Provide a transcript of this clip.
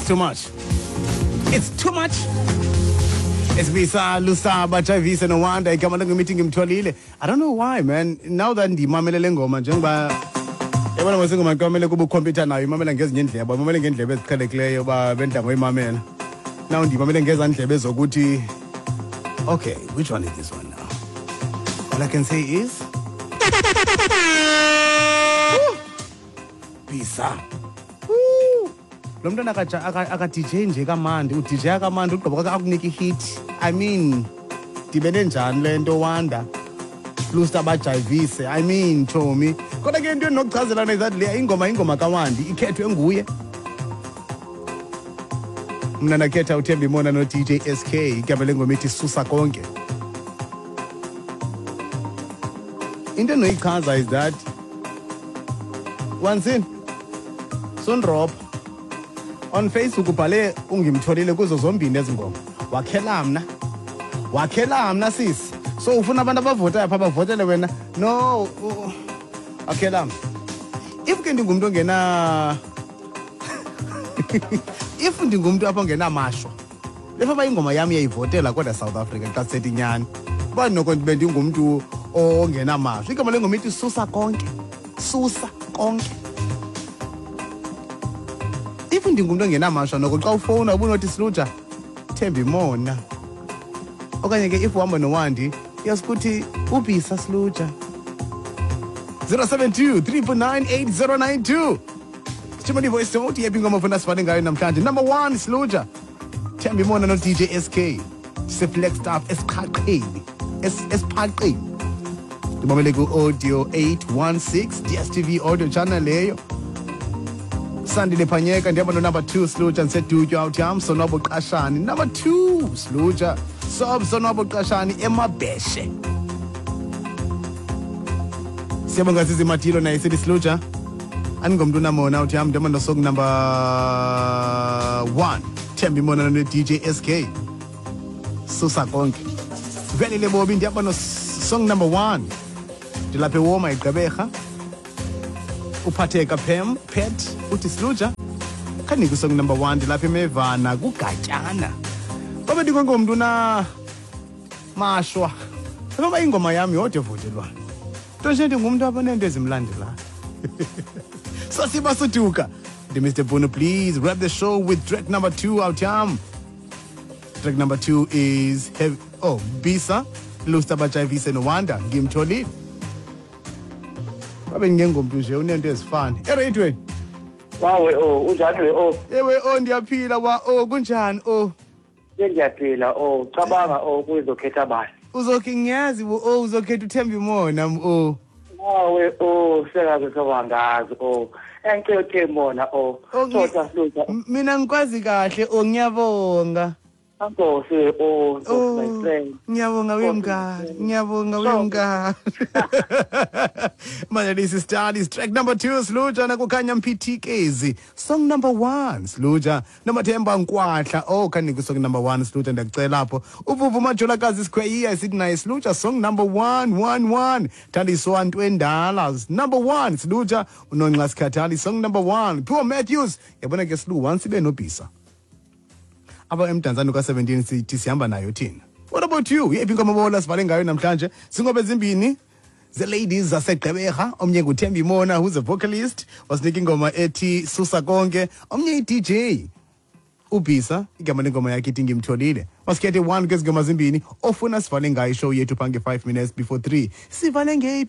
It's too much. It's too much. Esibisa Lusaba Javise no Wanda igama lengoma ngimtholile. I don't know why, man. Now that ndimamele le ngoma njengoba yabona mase ingoma kwamele kuba ukhompyutha nayo imamela ngezinye indlebe, imamele ngendlebe eziqhelekileyo uba bendla ngoyimamela. Now ndimamele ngezaa ndlebe zokuthi okay, which one is this one now? All I can say is Bisa. Lo mntwana aka-DJ nje kamandi, u-DJ akamandi ugqiba kwakhe akunika i-hit. I mean, dibene njani le nto Wanda? Lusta bajayivise. I mean, Tommy. Kodwa ke into endinokuchazela is that le ingoma kaWandi ikhethwe nguye. Mna ndakhetha uThemba Imona no-DJ SK igama lengoma ithi Susa Konke. Into endinoyichaza is that once in sundrop on Facebook ubhale ungimtholile kuzo zombini ezi ngoma. Wakhela mna. Wakhela mna sisi. So ufuna abantu abavotayo pha bavotele wena. No, wakhela mna. If ke ndingumntu ongena if ndingumntu apha ongenamashwa, lefa ingoma yam iyayivotela kodwa South Africa xa sithethi inyani. Uba noko ndibe ndingumntu ongenamashwa. Igama lengoma ithi Susa Konke. Susa Konke. If ndingumntu ongenamashwa noko xa ufowuna ubunothi Sluja Themba Imona. Okanye ke if uhamba noWandi uyasikuthi ubhisa Sluja. 072 349 8092. Sithumele i-voice note yephi ingoma ofuna sivale ngayo namhlanje. Number 1 Sluja Themba Imona no-DJ SK. Siflagstaff esiqhaqheni. Esiphaqeni. Ndibamele ku-audio 816 DSTV audio channel leyo. Sandile Phanyeka ndihamba no-number 2 Sluja ndisedutywa out yam Sonwabo Qashani. Number 2 Sluja Sob Sonwabo Qashani emabheshe. Siyabonga Zizi Matilo naye sithi Sluja. Andingomntu unamona uthi yam ndihamba no-song number 1 Themba Imona no-DJ SK. Susa Konke. Velile Bobi ndihamba no-song number 1 ndilapha ewoma igqeberha. Uphatheka Pem Pet uthi Sluja khanike song number 1 ndilapha emevana kugatyana. Babe ndingongomntu na mashwa. Ngoba ingoma yami yodwa evotelwayo. Nto nje ndingumntu apha neento ezimlandelayo. Sasiba suduka. The Mr. Bono, please wrap the show with track number 2 out yam. Track number 2 is heavy. Oh, Bisa, Lusta Bajayivise no Wanda, ngimtholile. Babe ngengomntu nje unento ezifana. Ereyidweni. Wawe o, unjani we o? Ewe o ndiyaphila wa o kunjani o? Ngiyaphila o, cabanga o kuzokhetha bani? Uzokhe ngiyazi o uzokhetha uThemba Imona o. Wawe o, sekaze sobangazi o. Engicela uThemba Imona o. Sotha Sluja. Mina ngikwazi kahle o ngiyabonga. Nkosi o, my friend. Ngiyabonga wemngani, ngiyabonga wemngani. Manje this is Studies track number 2 Sluja nakukhanya Mphithikezi. Song number 1 Sluja noMathemba Nkwahla. Oh khanike song number 1 Sluja ndiyakucela apho. Uvuvu Majolakazi Sikhweyiya sithi naye Sluja song number 1 1 1. Thandiswa Ntwendala number 1 Sluja uNonxa Sikhathali song number 1. Pure Matthews yabona ke Slu once ibe nobhisa. Aba emdantsane ka-17 sithi sihamba nayo thina. What about you? Yephi ingoma bola sivale ngayo namhlanje? Singobe ezimbini the ladies zaseGqeberha, omnye nguThemba Imona who's a vocalist, wasinika ingoma ethi Susa Konke, omnye i-DJ uBhisa igama lengoma yakhe ithi Ngimtholile. Masikhethe 1 kwezi ngoma zimbini ofuna sivale ngayo ishow yethu phange 5 minutes before 3. Sivale ngeyiphi?